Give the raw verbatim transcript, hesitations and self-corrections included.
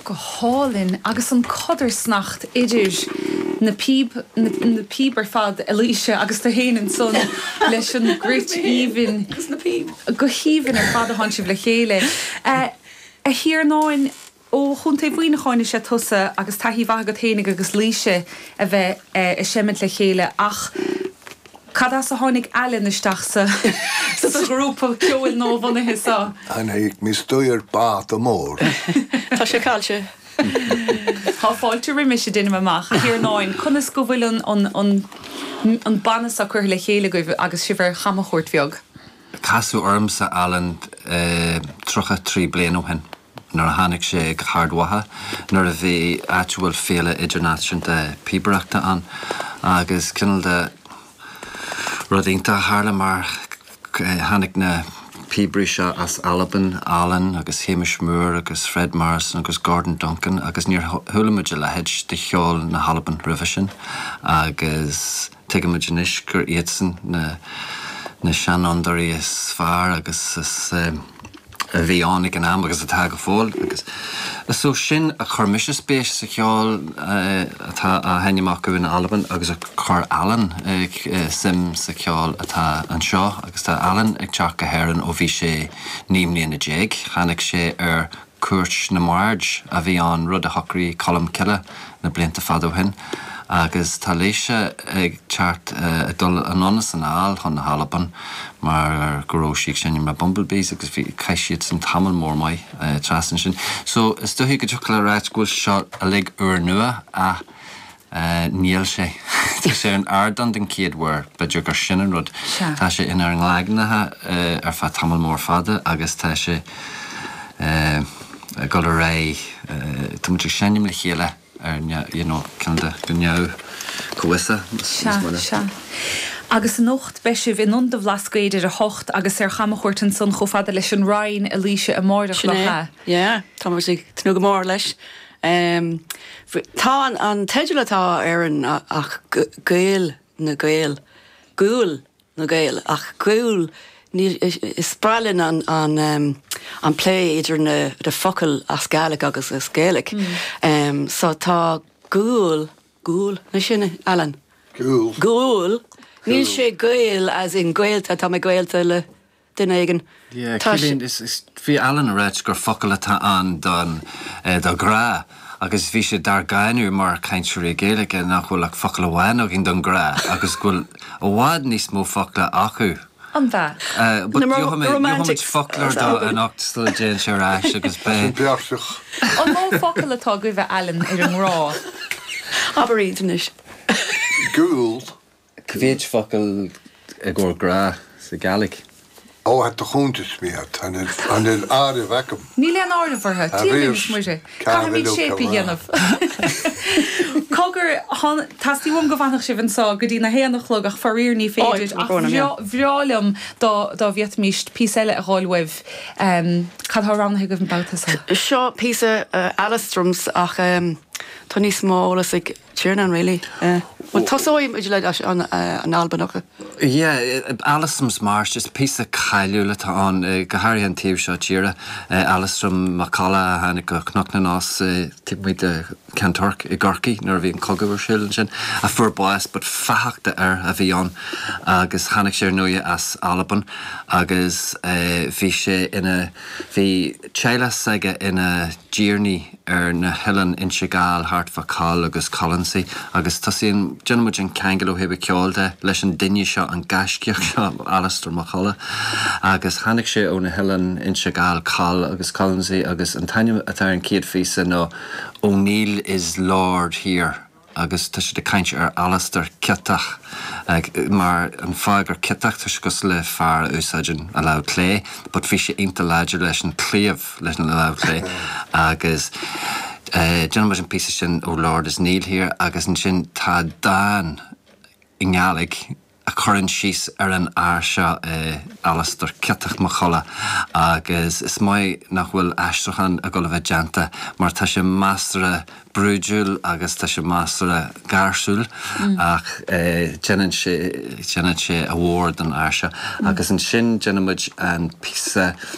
Go hálainn agus an codarsnacht idir na píb na, na píb ar fad a Laoise agus tú féin ansan leis an gcruit aoibhinn Agus na píb. go haoibhinn ar fad a tánn sibh le chéile. Uh, a Thiarnáin ó Chontae Mhuineacháin is ea tusa agus taithí mhaith agat féinig agus Laoise a bheith uh, ag seimint le chéile ach cad as a tháinig Alan isteach sa sa ghrúpa ceoil nuabhunaithe seo. Tháinig mé isteach báta mór. Tá sé caillte. Tá fáilte roimis sé duine amach a Thiarnáin conas go bhfuil an an an an banna seo curtha le chéile agaibh agus sibh ar chamchuairt bheag. Casadh ormsa Alan tríocha trí bliain ó shin nuair a tháinig sé go hArd Mhacha nuair a bhí áit bhfuil féile idirnáisiúnta píobaireachta ann agus cineál de rud iontach a tharla mar tháinig na píobairí seo as Albain Alan agus Hamish Moore agus Fred Morrison agus Gordon Duncan agus níor chuala muid a leithéid de cheol na hAlban roimhe sin agus tuigimid anois gur iadsan na na seanfhondúirí is fearr agus is um, a bhí ann ag an am agus atá go fóill agus so sin a chuir mise spéis sa cheol atá á sheinm acu in Albain agus a chuir Alan suim sa cheol atá anseo agus tá Alan ag teacht go hÉirinn ó bhí sé naoi mbliana déag, tháinig sé ar cuairt na mbard a bhí an rud a shocraigh Colm Cille na blianta fada ó shin. agus tá Laoise ag teacht ag dul anonn is anall chun na hAlban mar go raibh sí ag seinm le Bumblebees agus bhí chaith siad san tamall mór maith trasna sin. So is dóichí go dtiocfadh le ráit go bhfuil seo uilig úrnua ach níl sé. Tá sé an ardán den chéad uair b'fhéidir gur sin an rud. Tá sé inár gcloigne ar feadh tamall mór fada agus tá sé ag dul ar aghaidh tá muid ag seinm le chéile ar you know, ceann de go neamh-chomhfhiosach. Sea. Agus anocht beidh sibh in Ionad an Bhlascaoid ar a hocht agus ar chamchuairt ansan chomh fada leis an Rinn a Laoise amárach Sin é. Yeah, tá muid ag tnúth go mór leis. Um, tá an, an teideal atá ar an ach Gael na Gael, Gúil na Gael ach gúil is breá linn an, an, um, an plé idir na de focail as Gàidhlig agus as Gaeilge. Mm. Um, so tá gúil gúil na sin Alan. Gúil. Gúil. Níl sé gael as in gaolta tá mé gaolta le duine éigin. Bhí Alan ag ráit gur focal atá ann don do ghrá. agus bhí sé dár gcáineadh mar chainteoirí Gaeilge nach bhfuil ach focal amháin againn don ghrá agus go bhfuil i bhfad níos mó focla acu. An bheith. Romantic foclóir dó anocht sula dtéann sé ar ais agus be. Beartach. An mó focal atá agaibh Alan ar an ngrá. Abair iad anois. Gúil. Cá mhéad focal i gcomhair grá sa Gàidhlig. Ó het de chuntas mé an an áirimh agam. Níl aon áireamh orthu muise Caithfimid séip a dhéanamh. Cogar Teastaíonn go bhfanfadh sibh anseo go dtí na haon a chlog ach faraor ní féidir ach bhreá liom dá dá bhféadfaimis píosa eile a fháil uaibh. Cad tá roghnaithe agaibh an babhta seo. Seo píosa Alastrim ach tá níos mó eolas ag Tiarnán really. Well tosóidh muid le an an Albanach. Yeah, Alastrim's March is píosa cáiliúil atá ann go háirithe an taobh seo tíre. Alastrim Mac Colla a tháinig go Cnoc na Nás taobh amuigh de Cheann Toirc i gCorcaigh nuair a bhí an cogadh ar siúl ansin a fuair bás but fathach d'fhear a bhí ann agus tháinig sé ar ndóigh as Albain agus bhí sé ina bhí teaghlach s'aige ina dtiarnaí ar na hoileáin Inse Gall thart fá Coll agus Colonsay agus tosaíonn déanaimid an ceangal ó thaobh ceoil de leis an duine seo an gaiscíoch seo Alastar Mac Colla agus tháinig sé ó na hoileáin Inse Gall Coll agus Colonsay agus an t-ainm atá ar an chéad phíosa ná O'Neill is Lord here. agus tá siad ag caint ar Alastar ciotach mar an fáth gur ciotach tá sé cosúil le fear a úsáideann a lámh clé, but bhí sé iontach láidir leis an claíomh leis an lámh clé agus déanaimid an píosa sin ó Lord is Neil here agus ansin tá dán i nGàidhlig a chuireann síos ar an fhear seo Alastar Ciotach Mac Colla agus is maith nach bhfuil aistriúchán ag dul a bheith déanta mar tá sé measartha brúidiúil agus tá sé measartha gáirsiúil ach déanann sé déanann sé a mhór don fhear seo agus ansin déanaimid an píosa